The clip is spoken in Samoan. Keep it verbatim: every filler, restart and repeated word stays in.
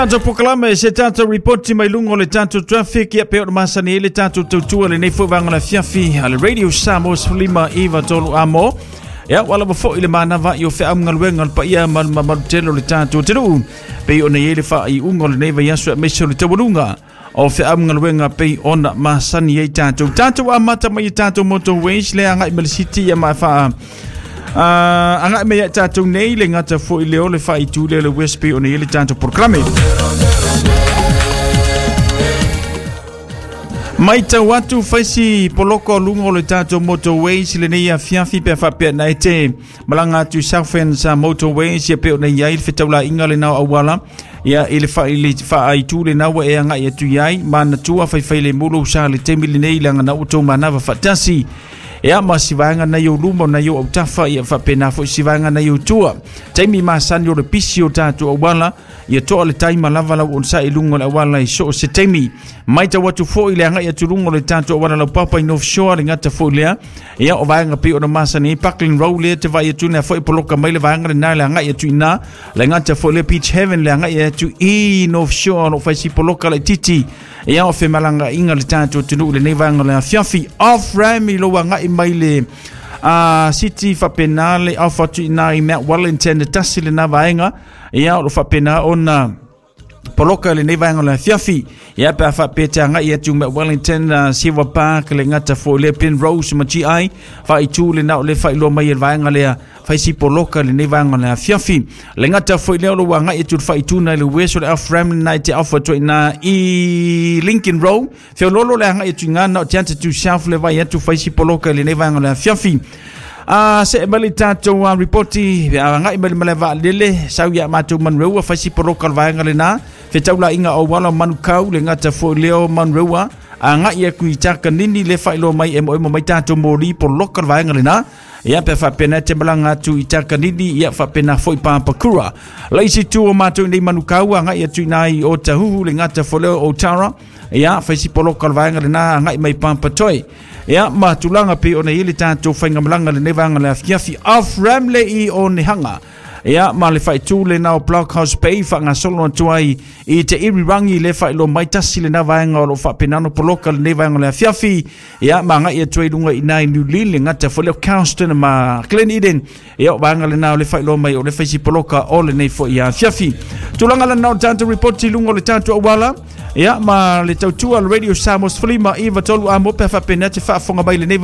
Tatou polokalame se tatou ripoti mai luga o le tatou traffic ia pei ona masani ai le tatou tautua lenei foi vaega o le afiafi a le Radio Samoa sefululima iva tolu amo. Ia ua lava foi le manava i o feaugaluega o le paia ma le mamalu tele o le tatou atunuu pei ona i ai le faaiuga o lenei vaiaso aemaise o le taualuga o feaugaluega pei ona masani ai tatou. Tatou amata mai i tatou motorways le agai mai le city ia ma faa Uh, agai mai ia tatou nei le gata foi lea o le faaitu lea o le West pei ona i ai le tatou polokalame. Matau atu faisi poloko o luga o le tatou motorways lenei afiafi pe faapea na e te malaga atu i Southends Motorways ia pei ona i ai le fetaulaiga lena o auala ia i le faaitu lena ua e agai atu i ai manatua faifai le mulu sa le taimi lenei leaga na ua tou manava faatasi. Ia ma si vaega nai ou luma o nai ou autafa ia faapena foi si vaega nai ou tua. Taimi masani o le pisi o tatou auala ia toa le taima lava lau onosai i luga o le auala i so o se taimi. Matau atu foi le agai atu luga o le tatou auala laupapa i North Shore le gata foi lea. Ia o vaega pei ona masani ai Parkland Road lea te vaai atu lea foi poloka mai le vaega lena le agai atu i ina. Le gata foi lea Beach Haven le agai atu i North Shore o lo o fai si poloka laitiiti. Ia o femalagaaiga le tatou atunuu lenei vaega o le afiafi. Off ram i lou agai mai le uh, city faapena le off atu i ina i Mount Wellington e tasi lena vaega. Ia o lo faapena ona poloka lenei vaega o le afiafi. Ia pe a faapea te agai atu Mount Wellington, uh, Silver Park le gata foi lea Penrose ma G I faaitu lena o le faailoa mai e le vaega lea faisi poloka lenei vaega o le afiafi. Le gata foi lea o lo agai atu le faaituna i le West o le off ram lena i te off atu i ina i Lincoln Road. Feololo le agai atu i ngana o te ata tu South le vai atu faisi poloka lenei vaega o le afiafi. Ah, se mai le tatou uh, ripoti agai mai le malae vaalele sau ia matou Manureua faisi poloka le vaega lena fetaulaiga o auala o Manukau le gata foi lea o Manureua agai atu i Takanini le faailoa mai e moemo mai tatou moli poloka le vaega lena. Ia pe faapena te malaga atu i Takanini ia faapena foi Papakura. Le isi tu o matou nei Manukau agai atu i ina i Otahuhu le gata foi lea o Otara. Ia faisi poloka le vaega lena agai mai Papatoe. Ia ma tulaga pei ona i ai le tatou faigamalaga lenei vaega o le afiafi off ram le i Onehunga. Ia ma le faaitu lena o Blockhouse Bay faagasolo atu ai i te irirangi le faailoa mai tasi lena vaega o lo o faapena ona poloka lenei vaega o le afiafi. Ia ma agai atu ai luga i ina i New Lynn le gata foi lea o Carlston ma Glen Eden. Ia o vaega lena o le faailoa mai o le faisi poloka o lenei foi afiafi. Tulaga lena o le tatou ripoti i luga o le tatou auala. Ia ma le tautua le Radio Samoa sefululima iva tolu amo pe faapena te faafofoga mai lenei